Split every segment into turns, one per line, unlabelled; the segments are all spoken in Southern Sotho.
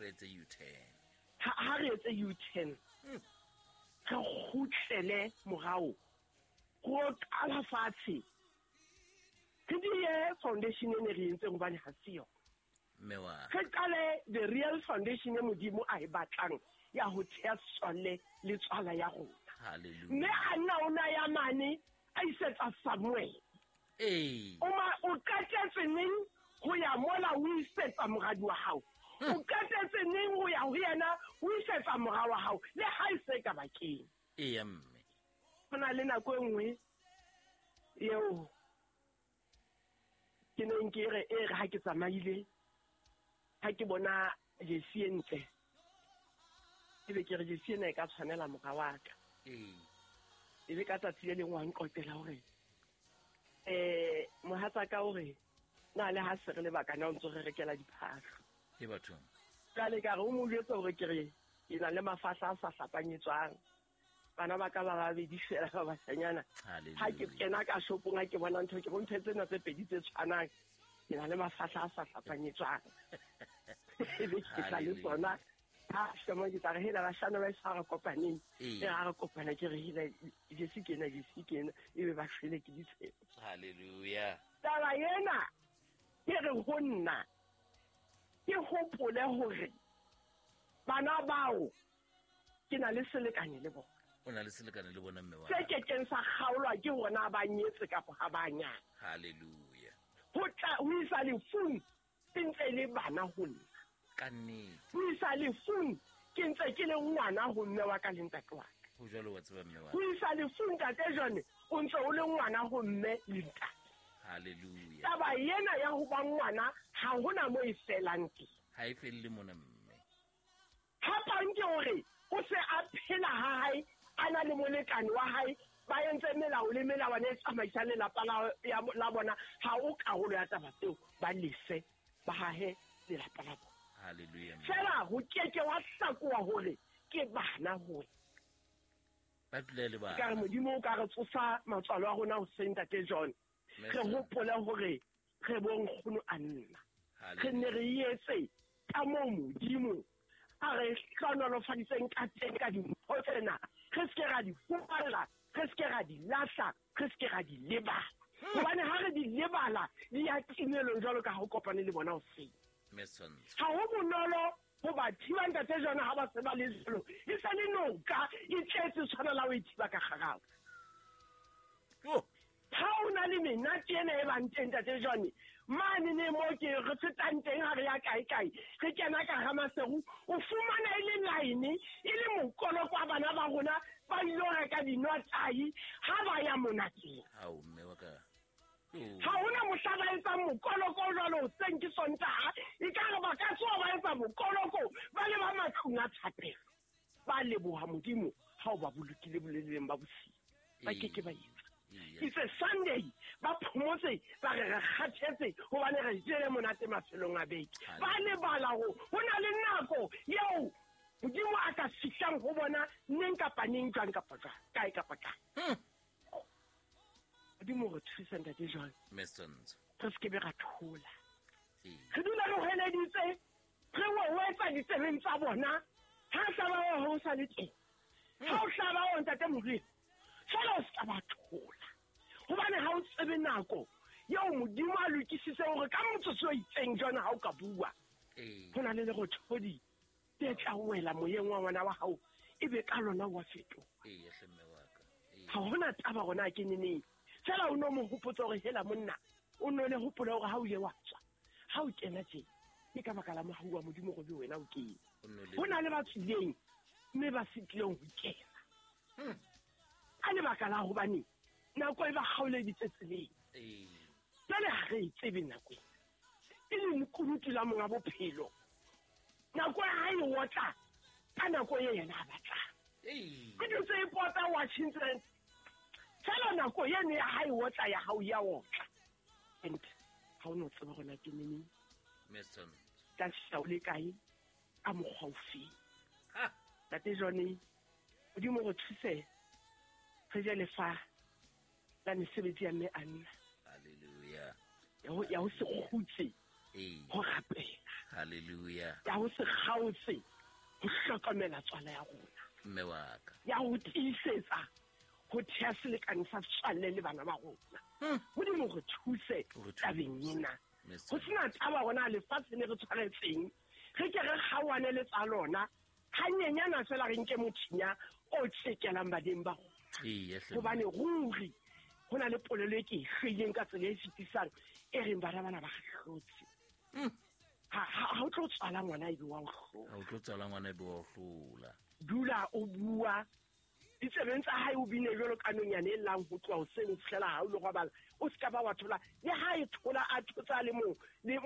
Re etse U-turn.
Ha re etse U-turn. Re kgutlele morao. Go qala fatshe. Re die foundation e ne re entseng hobane ha se yona.
Mme wa.
Re qale the real foundation e Modimo a e batlang ya ho thea setswalle le tswala ya rona.
Hallelujah.
Mme a nna o na ya mane a isetsa Samuel.
Ee.
O ma o qetetse neng ho ya mola o isetsa moradi wa hao? O qetetse neng ho ya ho yena o isetsa mora wa hao? Le ha e se ka bakeng.
Ee mme.
Ho na le nako e nngwe eo ke neng ke re e re ha ke tsamaile ha ke bona jesi e ntle ebe ke re jesi ena e ka tshwanela mora wa ka.
Ee.
E be ka tsatsi le leng wa nqoqela hore mohatsaka o re na le ha se re lebaka na o ntso re rekela diphahlo.
Ke bathong.
Jwale ka re o mo jwetse hore ke re ke na le mafahla a sa hlapanyetswang. Bana ba ka ba babedi fela ba bashanyana. Ha ke kena ka shopong ha ke bona ntho ke bonthe tsena tse pedi tse tshwanang. Ke na le mafahla a sa hlapanyetswang. Ebe ke tla le tsona. Ha shemo ke tla re hela bashana ba sa re kopaneng. E ha re kopana ke re hela jesi ke ena jesi ke ena ebe ba shwele ke ditshepo.
Hallelujah.
Taba ena ke re ho nna ke hopole hore bana bao ke na le selekane le bona.
O na le selekane le bona mme wa.
Se kekeng sa kgaolwa ke hore na ba nyetse kapa ha ba nyala.
Hallelujah.
Ho tla ho isa lefung ke ntse le bana ho nna.
Ka nnete.
Ho isa lefung ke ntse ke le ngwana ho mme wa ka le ntate wa ka.
Ho jwalo wa tseba mme wa.
Ho isa lefung ntate jone o ntse o le ngwana ho mme le ntate.
Hallelujah.
Taba ena ya ho ba ngwana ha hona mo e felang teng.
Ha e felle mona mme.
Phapang ke hore o se a phela ha hae a na le molekane wa hae ba entse melao le melawana e tsamaisang lelapa la bona ha o karolo ya taba tseo ba lese ba hahe lelapa la bona.
Hallelujah.
Fela ho keke wa hlakoha hore ke bana ho wena.
Ba dula le bana.
Ka re Modimo o ka re tsosa matswalo a rona hoseng ntate John. Re hopole hore re bonkgono a nna. Re ne re etse ka moo Modimo a re hlohonolofaditseng ka teng ka dimpho tsena. Re se ke ra di fumana, re se ke ra di lahla, re se ke ra di lebala. Hobane ha re di lebala di ya timelong jwalo ka ha o kopane le bona hoseng. Ha ho bonolo ho ba thiba ntate John ha ba se ba le jwalo. E sa le noka e tletse tshwana la ho e thiba ka kgarafu. Ha o na le menate ena e bang teng ntate John, mane ne mo ke re fetang teng ha re ya kae kae, re kena ka hara Maseru, o fumana e le line, e le mokoloko wa bana ba rona ba ilo reka dinotsahi ha ba ya monateng.
Ao mme wa ka.
Ha hona mohla ba etsang mokoloko o jwalo hoseng ke Sontaha, ekare ba ka tsoha ba etsa mokoloko ba le ba matlung a thapelo. Ba leboha Modimo ha o ba bolokile boleleng ba bosiu. Ba keke ba etsa. It's a Sunday, ba phomotse ba re re kgathetse hobane re jele monate mafelong a beke. Ba lebala ho na le nako eo Modimo a ka fihlang ho bona neng kapa neng jwang kapa jwang, kae kapa kae. Modimo re thuse ntate John. Re se ke be ra thola. Re dula re hweleditse, re wewetsa ditsebeng tsa bona. Ha hlaba wa ho sa le teng. Ha o hlaba wa ntate Morena, fela o se ka ba thola. Hobane ha o tsebe nako eo Modimo a lokisitse hore ka motsotso o itseng jwana ha o ka bua. Ho na le lerothodi le tla wela moyeng wa ngwana wa hao ebe ka lona wa fetoha. Ha hona taba rona ke neneng. Fela o no mo hopotsa hore hela monna, o no le hopola hore ha o ile wa tswa, ha o kena tje, ke ka baka la mohau wa Modimo go be wena o kene. Ho na le ba tswileng mme ba sitileng ho kena. Ka lebaka la hobane nako e ba kgaoleditse tseleng. Jwale ha re e tsebe nako ena. E leng lekunutu la monga bophelo. Nako ya hae e otla ka nako e yena a batlang. Ke dutse e pota watching. Fela nako eno ya hae otla ya hao ya otla. And ha o no tseba hore na ke neneng. Ka fihla o le kae ka mokgwa ofe. Ntate John, Modimo re thuse re je lefa la mesebetsi ya mme Anna.
Hallelujah.
Ya ho se kgutse ho rapela.
Hallelujah.
Ya ho se kgaotse ho hlokomela tswala ya rona.
Mme wa ka.
Ya ho tiisetsa ho thea selekane sa tswalle le bana ba rona. Modimo re thuse tabeng ena. Ho sena taba rona lefatshe le re tshwaretseng. Re ke re kgaohane le tsa lona. Hanyenyana fela re nke mothinya o tsekelang badeng ba rona. Hobane ruri ho na le polelo e ke e hlweleng ka tsela e fetisang e reng bana bana ba hlotse. Ha o tlo tswala ngwana ebe wa o hlola.
Ha o tlo tswala ngwana ebe wa o hlola.
Dula o bua ditsebeng tsa hae o bine jwalo ka nonyane e llang ho tloha hoseng ho fihlela ha o lo robala. O ska ba wa thola. Le ha e thola a thotsa le mong le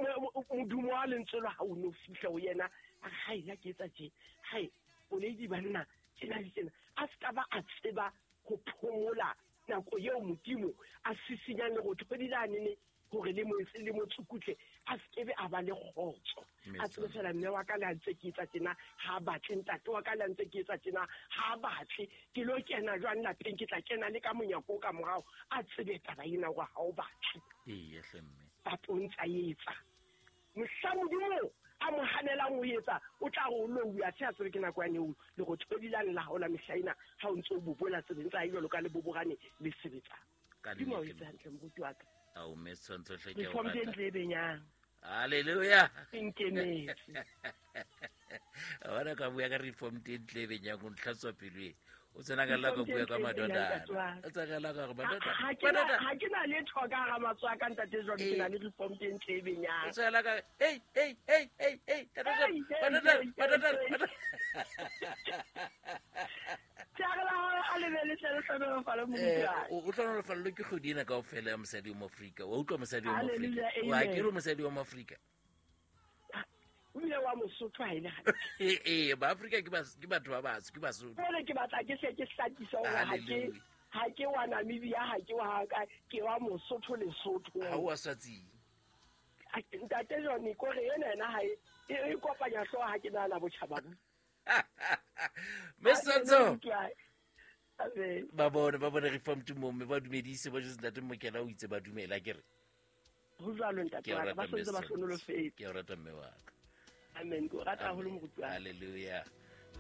modumo wa lentswe la ha o no fihla ho yena. A re hae la ke etsa tje. Hae o lady banna tjena le tjena. A ska ba a tseba ho phomola nako eo Modimo a sisinyang le go thodi ne hore le mo le mo tsukutle a skebe a ba le kgotso. A tsebe fela mme wa ka le a ntse ke etsa tjena ha batle, ntate wa ka le a ntse ke etsa tjena ha batle, ke lo kena jwang lapeng, ke tla kena le ka monyako ka morao. A tsebe taba ena hore ha o batle.
Eya hle mme.
Batho o ntsa etsa. Mohla Modimo a mo hanelang ho etsa, o tla re o lo bua, a tsebe ke nako ya neo le go thodilang la hao la mehla ena ha o ntse o bobola tsebeng tsa hae jwalo ka le boborane le sebetsa. Modimo o etse hantle moruti wa ka.
Ao mme Tshwantsho hle ke a o
Reform
rata.
ntle e benyang.
Hallelujah.
Nkemetse.
Wa ka bua ka reform ntle e benyang, o ntlhatswa pelo e. O tsena ka la ka bua ka madodana. O tsena ka la ka re madodana.
Ha ke na letho ka hara matsoho a ka ntate John, ke na le reform ntle e benyang.
O tsena la ka hey hey hey hey hey madodana madodana madodana. O hlohonolofallwe ke kgwedi ena kaofela ya mosadi wa Moafrika. Wa utlwa mosadi wa Moafrika? Wa ke re mosadi wa Moafrika?
O bile wa Mosotho ha e le hantle.
Ee, ba Afrika ke batho ba batsho, ke Basotho.
Jwale ke batla ke hle ke hlakise hore ha ke wa Namibia, ha ke wa kae, ke wa Mosotho Lesotho.
Ha o wa Swaziland.
Ntate John, ko re ena ena ha e kopanya hlooho ha ke nahana botjhaba bo.
Mme Tshwantsho. Ba bone reform to mme ba dumedise ba jwetse ntate Mokena o itse ba dumela ke re.
Ho jwalo ntate wa ka, ba sentse ba hlohonolofetse.
Ke o rata mme wa ka.
Amen, ke o rata haholo moruti wa ka.
Hallelujah.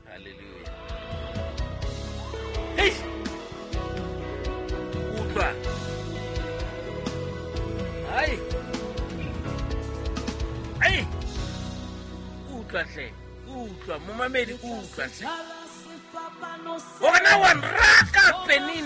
Hallelujah. Hey! Utlwa. Hai. Hey! Utlwa hle. Utlwa momamedi utlwa hle. Hore na wa nraka Penina.